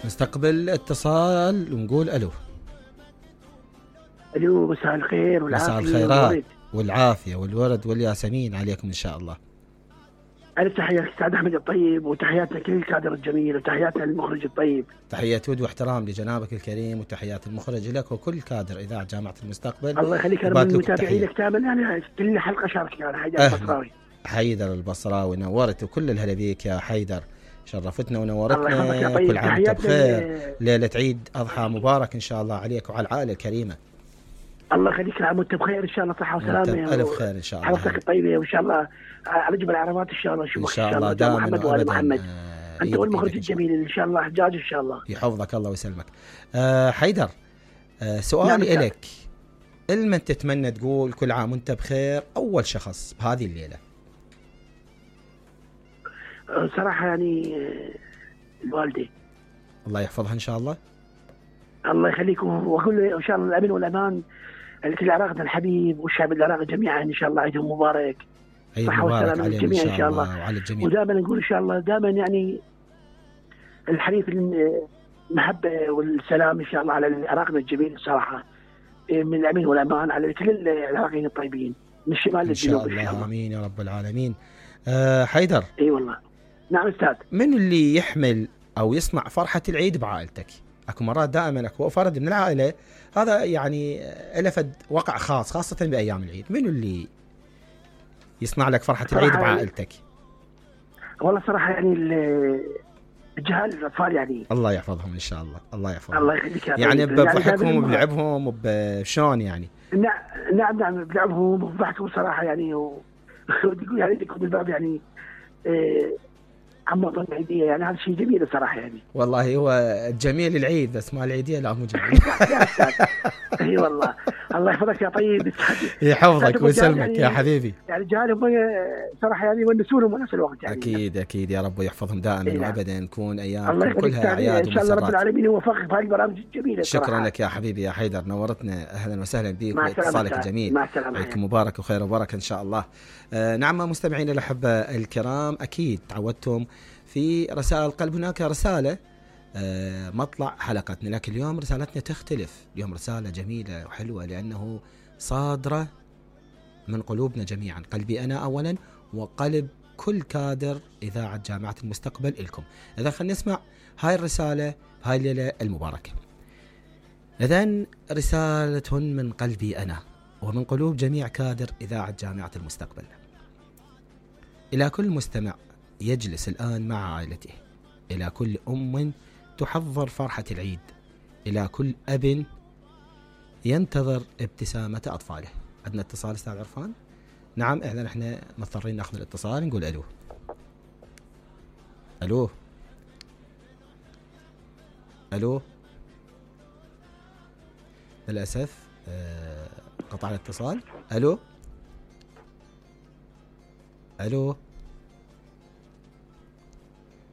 نستقبل اتصال ونقول الو. الو، مساء الخير والعافيه. مساء الخيرات والعافيه والورد والياسمين عليكم ان شاء الله. ألف تحية الأستاذ أحمد الطيب، وتحياتنا لكل الكادر الجميل، وتحياتنا للمخرج الطيب. تحية ود واحترام لجنابك الكريم، وتحيات المخرج لك وكل كادر إذاعة جامعة المستقبل. الله يخليك، أنا من متابعينك تاماً، يعني كل حلقة شارك يعني. حيدر البصراوي. حيدر البصراوي نورت، وكل الهلا بيك يا حيدر، شرفتنا ونورتنا. الله يحفظك. كل عام وانت بخير، ليلة عيد أضحى مبارك إن شاء الله عليك وعلى العائلة الكريمة. الله يخليك، العام وانت بخير ان شاء الله، صحه وسلامه. الف خير ان شاء الله. حضرتك الطيبه وان شاء الله على جبل العربات ان شاء الله نشوفك ان شاء الله دائما محمد وآل محمد. انت والمخرج الجميل ان شاء الله حجاج ان شاء الله. يحفظك الله ويسلمك. حيدر، سؤالي لك، لمن تتمنى تقول كل عام وانت بخير اول شخص بهذه الليله؟ صراحه يعني الوالده، الله يحفظها ان شاء الله. الله يخليكم، واقول ان شاء الله الامن والامان لكل عراقنا الحبيب والشعب العراقي جميعا ان شاء الله. عيدهم مبارك، صحه وسلامه للجميع ان شاء الله وعلى الجميع. ودائما نقول ان شاء الله دائما يعني الحديث المحبه والسلام ان شاء الله على عراقنا الجميل الصراحه، من الامن والامان على كل العراقيين الطيبين من الشمال للجنوب ان شاء الله. امين يا رب العالمين. حيدر، اي والله. نعم استاذ. من اللي يحمل او يصنع فرحه العيد بعائلتك؟ اكو مرات دائما اكو فرد من العائله هذا يعني لفد وقع خاص، خاصه بايام العيد، منو اللي يصنع لك فرحه العيد بعائلتك؟ والله صراحه يعني الجهال الاطفال يعني الله يحفظهم ان شاء الله. الله يحفظهم. الله يخليك يعني بضحكهم وبلعبهم وبشلون يعني. نعم بلعبهم وبضحكهم صراحه يعني وتقول يعني تكون الباب يعني عم اظن عيديه، يعني هذا شيء جميل صراحه يعني. والله هو جميل العيد، بس ما العيديه لا مو جميل. اي والله. الله يحفظك يا طيب. يحفظك ويسلمك يعني يا حبيبي. يعني جعلهم صراحه يعني يونسونهم ونفس الوقت يعني. اكيد اكيد يا رب يحفظهم دائما وابدا، نكون ايام كلها اعياد ان شاء الله رب العالمين يوفقك بهذه البرامج الجميله. شكرا لك يا حبيبي يا حيدر، نورتنا، اهلا وسهلا بك واتصالك الجميل. مع السلامه. عيدكم مبارك وخير وبركه ان شاء الله. نعم مستمعينا الاحبه الكرام، اكيد تعودتم في رسائل القلب هناك رسالة مطلع حلقتنا، لكن اليوم رسالتنا تختلف. اليوم رسالة جميلة وحلوة لأنه صادرة من قلوبنا جميعا، قلبي أنا أولا وقلب كل كادر إذاعة جامعة المستقبل إلكم. إذا خلينا نسمع هاي الرسالة هاي الليلة المباركة. إذن رسالة من قلبي أنا ومن قلوب جميع كادر إذاعة جامعة المستقبل إلى كل مستمع يجلس الآن مع عائلته، إلى كل أم تحضر فرحة العيد، إلى كل أب ينتظر ابتسامة أطفاله. عندنا اتصال أستاذ عرفان؟ نعم، إحنا نحن مضطرين نأخذ الاتصال، نقول ألو. ألو ألو. للأسف قطع الاتصال. ألو ألو.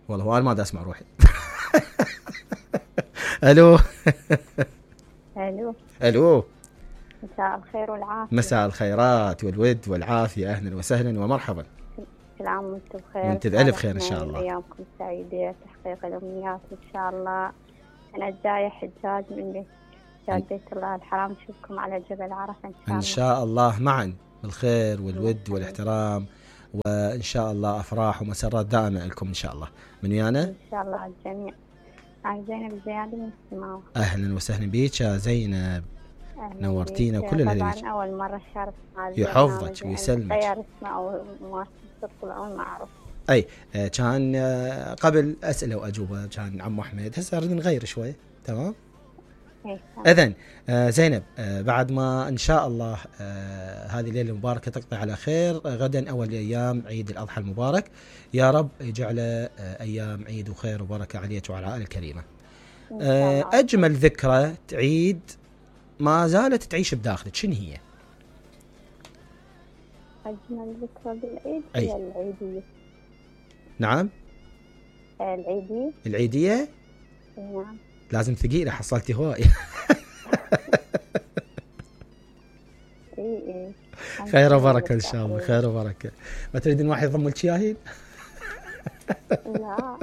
والله أنا ما دا أسمع روحي. ألو. ألو. ألو. مساء الخير والعافية. مساء الخيرات والود والعافية، أهلا وسهلا ومرحبا. كل عام وانتم بخير. وانت بألف خير إن شاء الله. أيامكم سعيدة، تحقيق الأمنيات إن شاء الله. أنا جاية حجاج من بيت الله الحرام، نشوفكم على جبل عرفة إن شاء الله. إن شاء الله معا بالخير والود والاحترام، وإن شاء الله أفراح ومسرات دائمة لكم إن شاء الله. من ويانا؟ إن شاء الله على الجميع. أنا زينب زيادة من السماوة. أهلا وسهلا بيك يا زينب، نورتينا وكل الهلا بيك. طبعا أول مرة شارك مع يحفظك ويسلمك. غير اسمه أو مؤسسة الأول ما أعرف. أي كان قبل أسئلة وأجوبة كان عم أحمد، هسه نريد نغير شوي. تمام. إذن زينب، بعد ما إن شاء الله هذه الليلة المباركة تقضي على خير، غدا أول أيام عيد الأضحى المبارك، يا رب يجعله أيام عيد وخير وبركة عليك وعلى العائلة الكريمة. أجمل ذكرى عيد ما زالت تعيش بداخلك شنو هي؟ أجمل ذكرى بالعيد هي العيدية. نعم. العيدية. نعم. لازم ثقيلة، حصلتي هواي. خير وبركة إن شاء الله، خير وبركة. ما تريدين واحد يضم لك ياهين؟ لا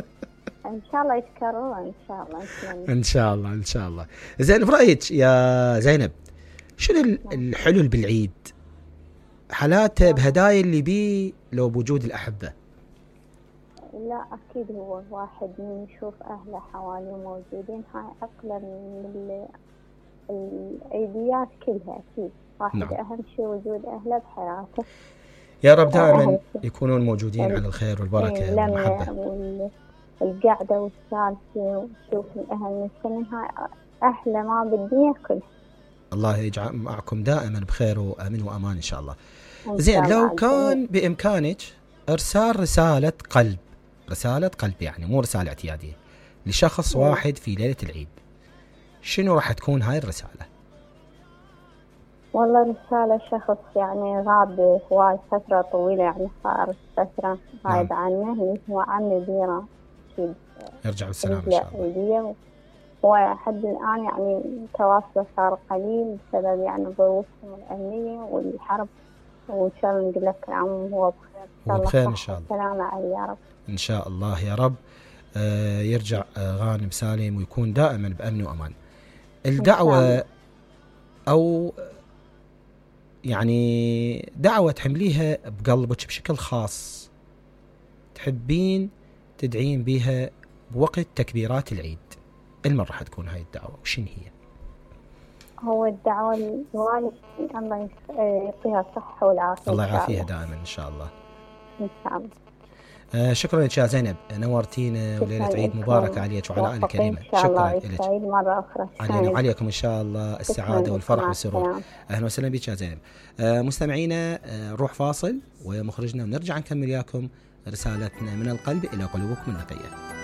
إن شاء الله يتكررون إن شاء الله. إن شاء الله إن شاء الله. زين برأيك يا زينب شنو الحلو بالعيد؟ حالاته بهدايا اللي بيه لو بوجود الأحبة؟ لا أكيد هو واحد من يشوف أهله حواليه موجودين هاي أقل من العيديات كلها أكيد. واحد نعم. أهم شيء وجود أهله بحياته. يا رب دائما يكونون موجودين على الخير والبركة والمحبة. القعدة والسالفة وشوف الأهل من هاي أحلى ما بالدنيا كلها. الله يجعل معكم دائما بخير وأمن وأمان إن شاء الله. زين لو كان بإمكانك إرسال رسالة قلب يعني مو رسالة اعتيادية لشخص واحد في ليلة العيد، شنو راح تكون هاي الرسالة؟ والله رسالة شخص يعني غاب هواي فترة طويلة، يعني صار فترة غايب عنه، اللي هو عمي بيرة أكيد يرجع بالسلامة إن شاء الله. وحد الآن يعني تواصله صار قليل بسبب يعني ظروفهم الأمنية والحرب، وإن شاء الله نقول لك عم هو بخير إن شاء الله. سلامة عليه يا رب إن شاء الله يا رب. يرجع غانم سالم ويكون دائما بأمن وأمان. الدعوة أو يعني دعوة تحمليها بقلبك بشكل خاص تحبين تدعين بها بوقت تكبيرات العيد، المن راح تكون هاي الدعوة وشن هي؟ هو الدعوة الوالد الله يعطيها الصحة والعافية. الله يعافيها دائما إن شاء الله. إن شاء الله. شكرا لك يا زينب، نورتينا وليلة عيد مباركة عليك وعلى آل الكريمة. شكرا لك. مرة أخرى علينا وعليكم إن شاء الله السعادة والفرح والسرور. أهلا وسهلا بك يا زينب. مستمعينا نروح فاصل ومخرجنا ونرجع نكمل ياكم رسالتنا من القلب إلى قلوبكم النقية.